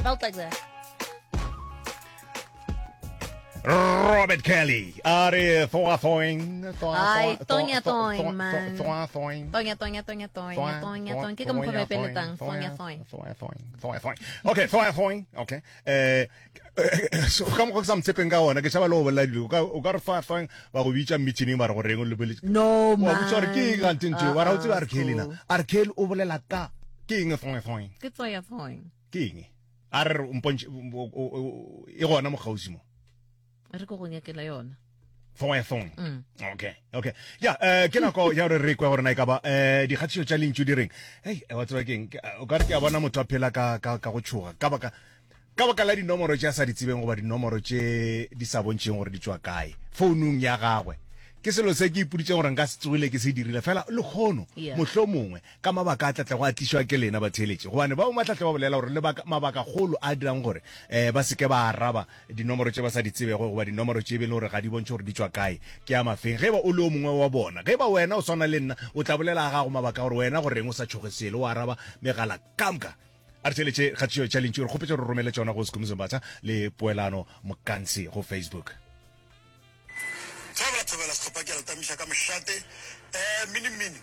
Felt like that. Robert Kelly a re thoa thoing Ai, tonya thoing, man. thoa thoing Tonya, tonya, tonya, tonya, tonya, tonya. Ke ka mokgwa ba e peletang. Tonya, thoing. thoa thoing thoa thoing okay thoa thoing okay eh so ka mokgwa ke sa motshepeng ka ona ke tšhaba le go bolela dilo o ka o ka re thoa thoing ba go bitša meeting ba re go reng o lebeletse No, wa man. botsa gore ke eng gante ntho e? wa ra o tseba Uh-uh, R. Kelly na cool. R. Kelly o bolela ka ke eng thoa thoing Ke tonya, thoing. ke eng a re re o mpontšhe e gona mo kgauswi mo Re ko go nyakela yona. thoe thoe Mm. okay okay ya eh ke nako ya gore re kwe gore na e ka ba eh dikgatišo tša lentšu di reng hei wa tseba keng o ka re ke a bona motho a phela ka ka ka go tšhoga ka baka ka baka la dinomoro tše a sa di tsebeng goba dinomoro tše di sa bontšheng gore di tšwa kae founung ya gagwe ke selo se ke ipoditšeng gore nka se tsogile ke se dirile fela lekgono Yeah. mohlomongwe ka mabaka a tlatlego a tlišwa ke lena batheeletši, gobane ba bangwe ba tlatle ba bolela gore lebaka, mabakagolo a dirang gore um ba se ke ba araba dinomoro tše ba sa di tsebego goba dinomoro tše be le gore ga di bontšhe gore di tšwa kae ke a mafeng. Ge e ba o le o mongwe wa bona, ge e ba wena o swana le nna, o tla bolela a gago mabaka a gore wena go reng o sa tšhoge selo, o araba megala ka moka. A re theeletše kgatišo tša Lentšu, re kgopetše gore o romele tšona go Skhumbuzo Mbatha le Poelano Mokansi go Facebook. Thobela thobela sehlopha ke a le tamiša ka mošate. Eh, mini mini.